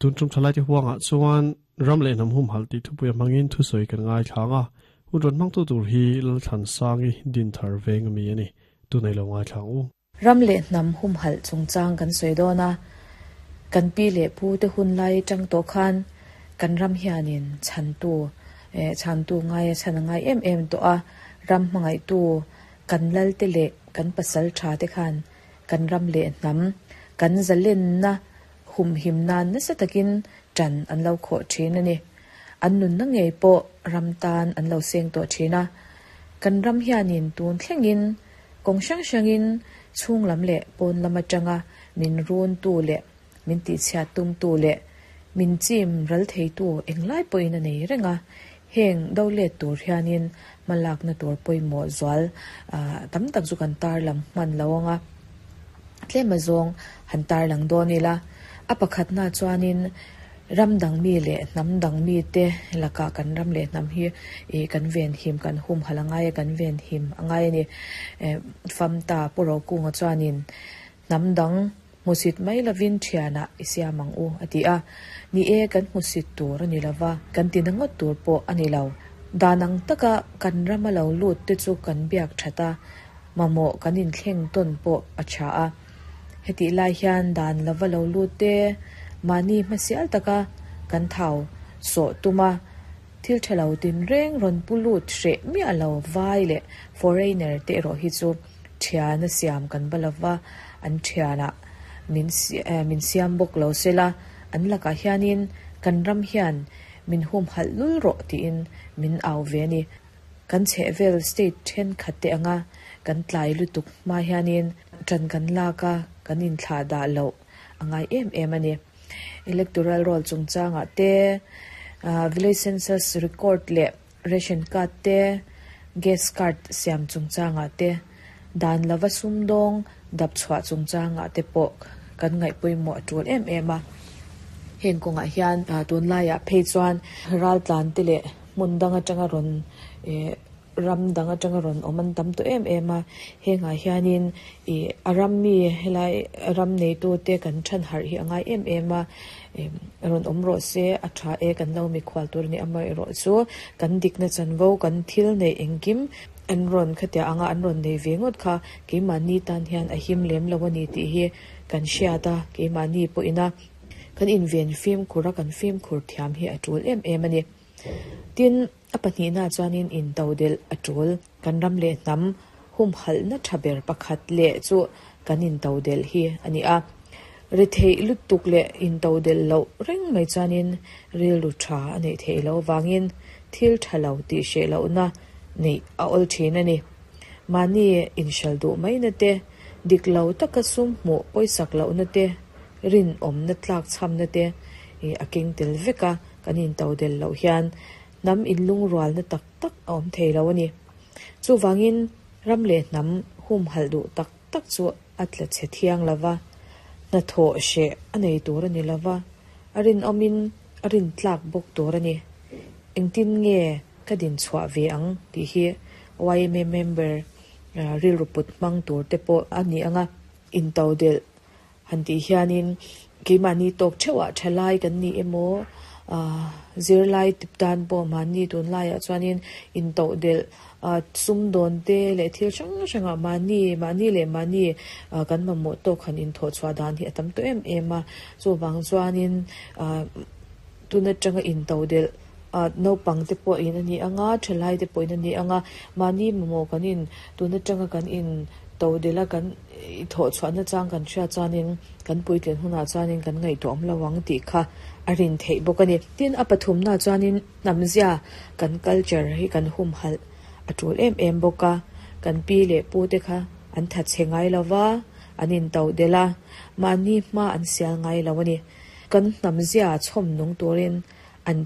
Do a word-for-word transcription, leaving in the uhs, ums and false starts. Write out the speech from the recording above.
Tun tum thalai te huanga chuan ram leh hnam hum hal ti thupui hmangin thu sawi kan ngai thlanga hun ron hmang tu tur hi lal than sangi din thar veng ami ani tu nei lo ngai thlang u. Ram leh hnam hum hal chungchang kan sawi dawn a, kan pi leh pu te hun lai tang to khan kan ram hianin chhantu eh chhantu ngai a chan ngai em em to a, ram hmangai tu kan lal te leh kan pasal tha te khan kan ram leh hnam kan zalen na hum him nan na sa takin tan an lo kho thin ani. An nun na ngei pawh ram tan an lo seng to thina, kan ram hianin tun thlengin kong hrang hrangin chhung lam leh pawn lam atanga min run tu leh min ti chhia tum tu leh min chim ral thei tu englai pawhin a nei renga. Heng do let tur hianin malak na tur pawimawh zual tam tak chu kan tar lam hman lo anga tlem azawng han tar lang dawn ila. A pakhat na chuanin ram dang mi leh hnam dang mi te laka kan ram leh hnam hi e kan ven him kan hum halangai kan ven him angai ani. Famta puro kunga chuanin hnam dang musit mai lovin thiana isiamang u ati a, ni e kan musit tur ani lova kan tinangot tur pawh ani lo. Danang taka kan rama lo lut te chu kan biak thata mamo kan in thleng ton pawh a tha a. Heti lai hian dan lova lo lut te mani hmasial taka kan thau so tuma thil thalo tin reng ron pulut hre mi alo vai le foreigner te ro hi chu thiana siam kan balava an thiana min min siam bok lo sela an laka hianin kan ram hian min hum hal lul ro ti in min au ve ni. Kan chhevel state then khatte anga kan tlai lutuk ma hianin tran kan laka kan in thla da lo angai em em ani. Electoral roll chungchanga te, village census record le ration card te, gas card siam chungchanga te, dan lova sumdong dap chhuah chungchanga te pawh kan ngai pawimawh tul em em a. Heng kawnga hian tun laiah phei chuan ral tlan te leh hmun dang atanga rawn ram dang atanga rawn awm an tam tawh em em a. Hengah hianin a ram mi helai ram nei tu te kan than harh hi angai em em a, rawn awm rawh se a tha e kan lo mikhual tur ni amah erawh chu kan dikna chanvo kan thil nei engkim an rawn khatia anga an rawn nei ve ngawt kha keimahni tan hian a him lem lo ani tih hi kan hriat a. Keimahni pawhina kan inven fimkhur a kan fimkhur thiam hi a tul em em ani. Tin a pahnih na chuanin in to del a tul kan ram leh hnam hum hal na thaber pakhat leh chu kan in to del hi ani a. Ri thei lutuk leh in to del lo reng mai chuanin ril lu tha ani thei lo wangin thil thalo ti she lo na nei a ol thin ani. Mani in shal du mai na te dik lo taka sum mu poisak lo na te rin om na tlak cham na te a king tel veka kan in to del lo hian nam in lung rual na tak tak awm thei lo ani. Chu wangin ram leh hnam hum hal du tak tak chu atla che thiang lova na tho she anei tur ani lova arin omin arin tlak bok tur ani. Engtin nge ka din chhuah ve ang ti hi Y M A member ril ruput mang tur te pawh ani anga. In to del han ti hianin keimahni tawk theuhah thalai kan ni emaw zir lai tip tan pawh mahni tun laiah chuanin in to del sum dawn te leh thil hrang hrangah mahni mahni leh mahni kan mamawh tawk han in thawh chhuah dan hi a tam tawh em em a. Chuvang chuanin tun atanga in to del naupang te pawh in ani anga thalai te pawh in ani anga mahni mamawh kan in tun atanga kan in to dela kan thawh chhuah na chang kan hriat chuanin kan puitling hunah chuanin kan ngaihtuah awm lo ang tih kha a rin theih bawk ani. Tin a pathum na chuanin hnamzia kan culture hi kan hum hal a tul em em bawk a. Kan pi leh pu te kha an that che ngai lova an in to dela mahni hma an sial ngai lo ani. Kan hnamzia chhawm nung turin an